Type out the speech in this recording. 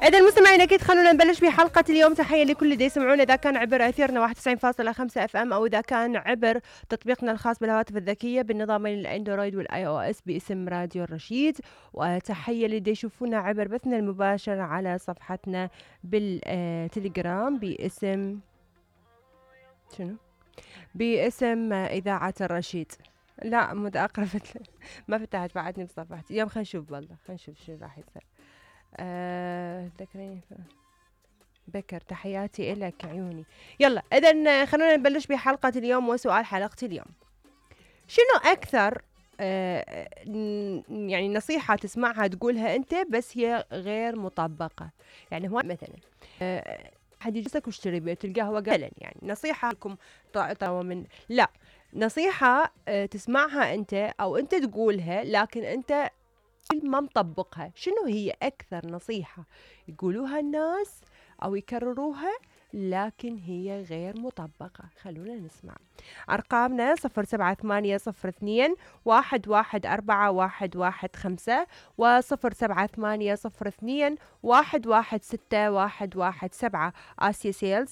إذا المستمعين أكيد خلونا نبلش بحلقة اليوم. تحية لكل اللي يسمعونا إذا كان عبر أثيرنا 91.5 FM أو إذا كان عبر تطبيقنا الخاص بالهواتف الذكية بالنظامين الأندرويد والآي أو إس باسم راديو الرشيد. وتحية للي يشوفونا عبر بثنا المباشر على صفحتنا بالتليجرام باسم شنو؟ باسم إذاعة الرشيد. لا متأقرفت ما فتحت بعدني بصفحتي اليوم. خلينا نشوف والله خلينا نشوف شو راح يصير. ذكريني بكر تحياتي إلك عيوني. يلا إذن خلونا نبلش بحلقة اليوم. وسؤال حلقة اليوم شنو أكثر يعني نصيحة تسمعها تقولها أنت بس هي غير مطبقة؟ يعني هو مثلا حد يجلسك واشتري بيت القهوة قال يعني نصيحة لكم من لا نصيحة تسمعها أنت أو أنت تقولها لكن أنت ما مطبقها. شنو هي أكثر نصيحة يقولوها الناس أو يكرروها لكن هي غير مطبقة؟ خلونا نسمع أرقامنا 078021141115 و078021161117 آسيا سيل 077001141115.